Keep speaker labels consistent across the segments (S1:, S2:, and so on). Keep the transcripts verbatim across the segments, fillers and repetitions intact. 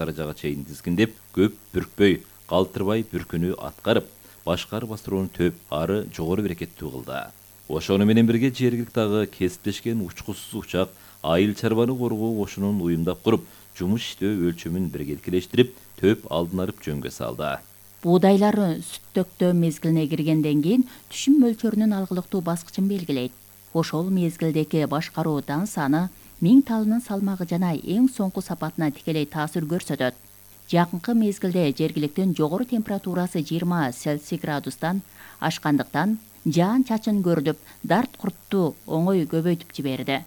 S1: даражага чейин тизгиндеп, көп бүркпөй, калтырбай бүркүүнү аткарып, башкарып астырууну төп, ары жогору берекеттүү кылды. Ошону менен бирге жергиликтагы кесиптешкен учкусуз учак айыл чарбаны коргоо кошунун уюмдап куруп, жумуш иштөө өлчөмүн биргеликелештирип, төп алдын алып жөнгө салды.
S2: Буудайлар сүттөктөө мезгилине киргенден кийин түшүм мөлчөрүнүн алгылыктуу баскычын белгилейт. Ошол мезгилдеги башкаруу дан саны миң талынын салмагы жана эң соңку сапатына тикелей таасир көрсөтөт. Жакынкы мезгилде жергиликтин жогору температурасы жыйырма Цельсий градустан ашкандыктан жаан чачын көрүлүп, дарт куртту оңой көбөйтүп жиберди.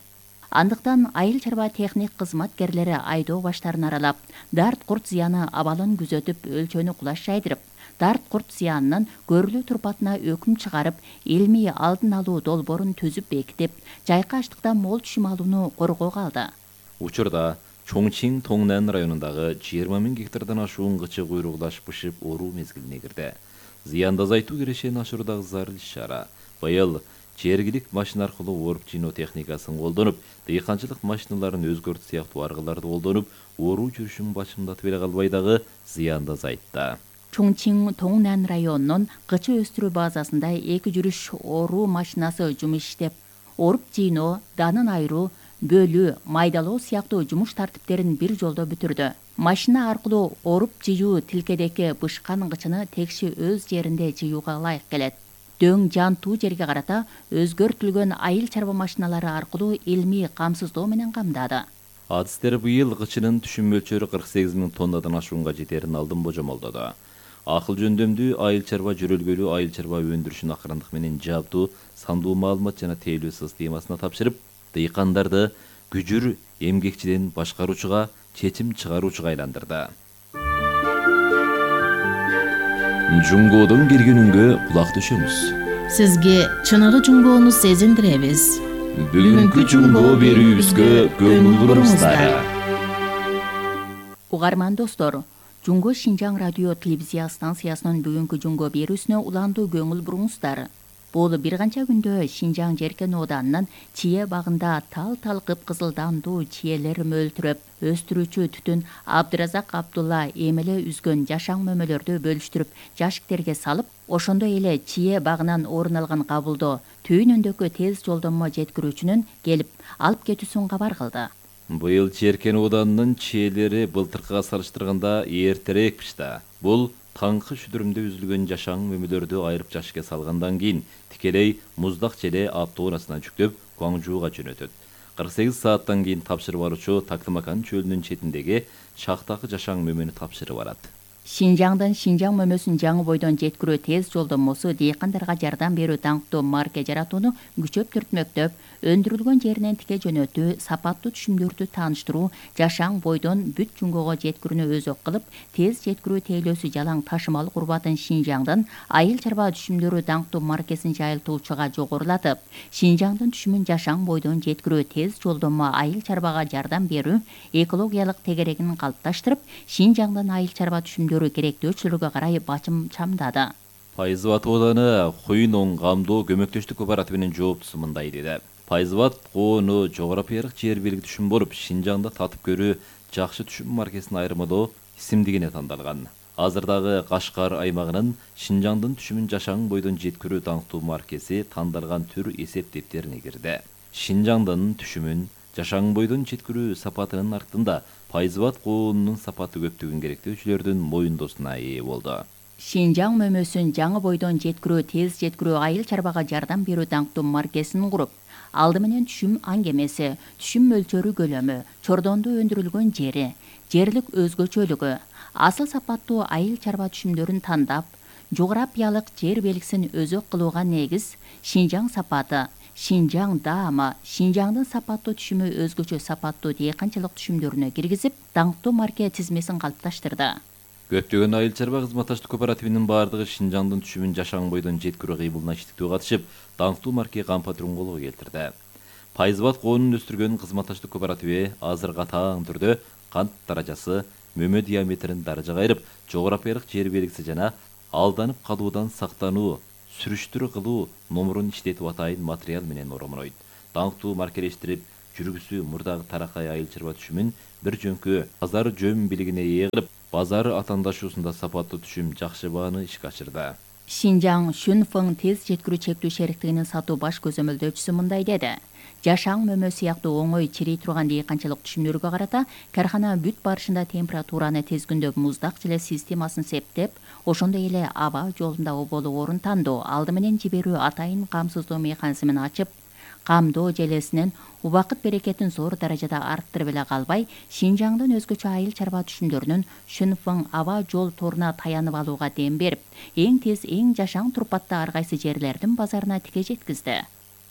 S2: Андыктан айыл чарба техник кызматкерлери айдоо баштарын аралап, дарт курт зыяны абалын күзөтүп, өлчөнү кулаш жайдырып, дарт курт зыянынын көрүлүү турпатына өкүм чыгарып, илмий алдын алуу долбоорун түзүп бекитип, жайкаштыктан мол түшүм алууну коргоого алды.
S1: Учурда Чоңчин Тоңнан районундагы жыйырма миң гектардан ашуун кычы куйругдаш бышып оруу мезгилине кирди. Зыянды азайтуу кирешени ашыруудагы зарыл иш-чара. Быйыл жергилик машина аркылуу оруп жыйноо техникасын колдонуп, дыйканчылык машиналарын өзгөртүү сыяктуу аргыларды колдонуп, оруу жүрүшүн башымдатып эле калбай дагы зыянды азайтты.
S2: Чоңчин Тоңнан районунун кычы өстүрүү базасында эки жүрүш оруу машинасы жумуш иштеп, оруп жыйноо, данын айыруу, бөлүү, майдалоо сыяктуу жумуш тартиптерин бир жолдо бүтүрдү. Машина аркылуу оруп жыйуу тилкедеки бышкан кычыны текши өз жеринде жыюуга ылайык келет. Дөң жантуу жерге карата өзгөртүлгөн айыл чарба машиналары аркылуу илмий камсыздоо менен камдады.
S1: Адистер быйыл кычынын түшүм мөлчөрү кырк сегиз миң тоннадан ашуунга жетерин алдын божомолдоду. Акыл жөндөмдүү айыл чарба жөрөлгөлүү айыл чарба өндүрүшүн акырындык менен жабдуу, сандуу маалымат жана тейлөө системасына тапшырып, дыйкандарды күжүр эмгекчиден башкаруучуга, чечим чыгаруучуга айландырды. Жуңгоодон келгенүнгө кулак түшөмүз.
S3: Сизге чыныгы жуңгоону сезиндиребиз.
S1: Бүгүнкү жуңгоо берүүбүзгө көңүл буруңуздар.
S2: Угарман достор, Жуңго Шинжаң радио телевизия станциясынын бүгүнкү жуңгоо берүүсүнө уландуу көңүл буруңуздар. Бул бир канча күндө Шинжаң Жеркен Оданынын чие багында тал-тал кыпкызыл дандуу чиелер мөлтүрөп, өстүрүүчү түтүн Абдыразак Абдулла эмеле үзгөн жашаң мөмөлөрдү бөлүштүрүп, жашиктерге салып, ошондой эле чие багынан орун алган кабылдоо түйүнүндөгү тез жолдомо жеткирүүчүнүн келип алып кетүүсүн кабар кылды.
S1: Быйыл Жеркен Оданынын чиелери былтыркыга салыштырганда эртерээкпиш да. Бул таңкы шүдүрүмдө үзүлгөн жашаң мөмөлөрдү айырып жашикке салгандан кийин тикелей муздак желе автоунаасына жүктөп Гуаңжууга жөнөтөт. кырк сегиз сааттан кийин тапшырып алуучу Тактымакан чөлүнүн четиндеги шахтакы жашаң мөмөнү тапшырып алат.
S2: Шинжаңдын Шинжаң мөмөсүн жаңы бойдон жеткирүү тез жолдомосу дыйкандарга жардам берүү даңктуу марке жаратууну күчөп түртмөктөп, өндүрүлгөн жеринен тике жөнөтүү, сапаттуу түшүмдөрдү тааныштыруу, жашаң бойдон бүт жуңгоого жеткирүүнү өзөк кылып, тез жеткирүү тейлөөсү жалаң ташымалык урбатын Шинжаңдын айыл чарба түшүмдөрү даңктуу маркесин жайылтуучуга жогорулатып, Шинжаңдын түшүмүн жашаң бойдон жеткирүү тез жолдомо айыл чарбага жардам берүү экологиялык тегерегин калыпташтырып, Шинжаңдын айыл чарба түшүмдөрү керектөөчүлүгү карай бачым чамдады.
S1: Пайзыбат ооданы Хуйноң камдоо көмөктөштүк кооперативинин жооптусу мындай деди. Пайзыбат коону жогорапиялык жер белги түшүм болуп, Шинжаңда татып көрүү жакшы түшүм маркесин айырмалоо исимдигине тандалган. Азырдагы Кашкар аймагынын Шинжаңдын түшүмүн жашаң бойдон жеткирүү даңктуу маркеси тандалган түр эсеп дептерине кирди. Шинжаңдын түшүмүн жашаң бойдон жеткирүү сапатынын артында Пайзыбат коонунун сапаты көптөгөн керектөөчүлөрдүн моюндоосуна ээ болду.
S2: Шинжаң мөмөсүн жаңы бойдон жеткирүү тез жеткирүү айыл чарбага жардам берүү даңктуу маркесин куруп, алды менен түшүм аңгемеси, түшүм мөлчөрү көлөмү, чордондо өндүрүлгөн жери, жерлик өзгөчөлүгү, асыл сапаттуу айыл чарба түшүмдөрүн тандап, жогорапиялык жер белгисин өзөк кылууга негиз Шинжаң сапаты, Шинжаң даамы, Шинжаңдын сапаттуу түшүмү өзгөчө сапаттуу дыйканчылык түшүмдөрүнө киргизип, даңктуу марке тизмесин калыпташтырды.
S1: Көптөгөн айыл чарба кызматташтык кооперативинин бардыгы Шинжаңдын түшүмүн жашаң бойдон жеткирүү кыймылына иштиктүү катышып, даңктуу марке кампатырын колго келтирди. Пайзыбат коонун өстүргөн кызматташтык кооперативи азыр катаң түрдө кант даражасы, мөмө диаметрин даражага айырып, жогорапиялык жер белгиси жана алданып калуудан сактануу, сүрүштүрүү кылуу номурун иштетип атайын материал менен оромойт. Даңктуу маркелештирип, жүргүсү мурдагы таракай айыл чарба түшүмүн бир жөнкө базары жөн билигине ээ кылып, базары атаандашуусунда сапаттуу түшүм жакшы бааны ишке ашырды.
S2: Шинжаң Шүнфың тез жеткирүү чектүү шериктигинин сатуу баш көзөмөлдөөчүсү мындай деди. Жашаң мөмө сыяктуу оңой чирей турган дыйканчылык түшүмдөргө карата кархана бүт барышында температураны тезгүндөп муздак желе системасын септеп, ошондой эле аба жолунда оболу орун тандоо, алды менен жиберүү атайын камсыздоо механизмин ачып, камдоо желесинен убакыт берекетин зор даражада арттырып эле калбай, Шинжаңдын өзгөчө айыл чарба түшүмдөрүнүн Шүнфың аба жол торуна таянып алууга дем берип, эң тез эң жашаң турпатта ар кайсы жерлердин базарына тике жеткизди.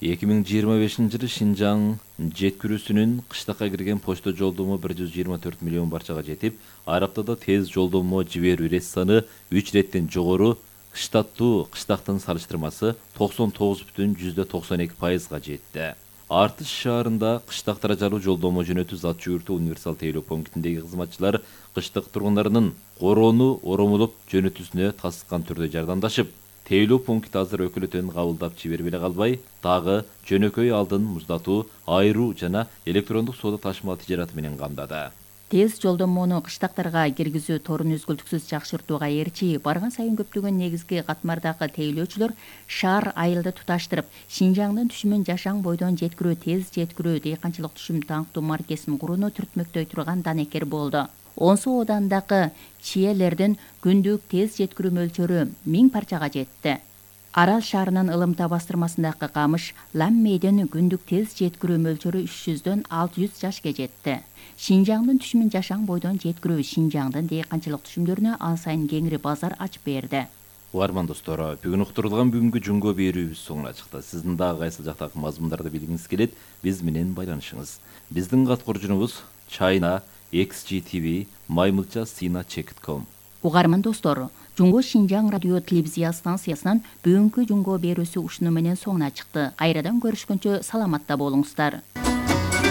S1: эки миң жыйырма бешинчи жылы Шинжаң жеткирүүсүнүн кыштакка кирген почта жолдомо бир жүз жыйырма төрт миллион барчага жетип, ар аптада тез жолдомо жиберүү ирет саны үч иреттен жогору, штаттуу кыштактын салыштырмасы токсон тогуз бүтүн жүздө токсон эки пайызга жетти. Артыш шаарында кыштактара жалуу жолдомо жөнөтүү зат жүгүртүү универсал тейлөө пунктиндеги кызматчылар кыштык тургундарынын короону оромолоп жөнөтүүсүнө тасыккан түрдө жардамдашып, тейлөө пункт азыр өкүлөтөн кабылдап жиберип эле калбай, дагы жөнөкөй алдын муздатуу, айыруу жана электрондук соода ташымал тижараты менен камдады.
S2: Тез жолдомону кыштактарга киргизүү торун үзгүлтүксүз жакшыртууга эрчи барган сайын көптөгөн негизги катмардагы тейлөөчүлөр шаар айылды туташтырып, Шинжаңдын түшүмүн жашаң бойдон жеткирүү тез жеткирүү дыйканчылык түшүм таңктуу маркесин курууну түртмөктөй турган данекер болду. Онсу оодандагы чиелердин күндүк тез жеткирүү мөлчөрү миң парчага жетти. Арал шаарынын Ылымта бастырмасындагы камыш Ламмейдин күндүк тез жеткирүү мөлчөрү үч жүздөн алты жүз жашка жетти. Шинжаңдын түшүмүн жашаң бойдон жеткирүү Шинжаңдын дыйканчылык түшүмдөрүнө ан сайын кеңири базар ачып берди.
S1: Угарман достор, бүгүн уктурулган бүгүнкү жумго берүүбүз соңуна чыкты. Сиздин дагы кайсы жактагы мазмундарды билгиңиз келет, биз менен байланышыңыз. Биздин каткоржунубуз China X G T V маймылча сина чек точка ком.
S2: Угарман достор, Жумго Шинжаң радио телевизия станциясынан бүгүнкү жумго берүүсү ушуну менен соңуна чыкты. Кайрадан көрүшкөнчө саламатта болуңуздар.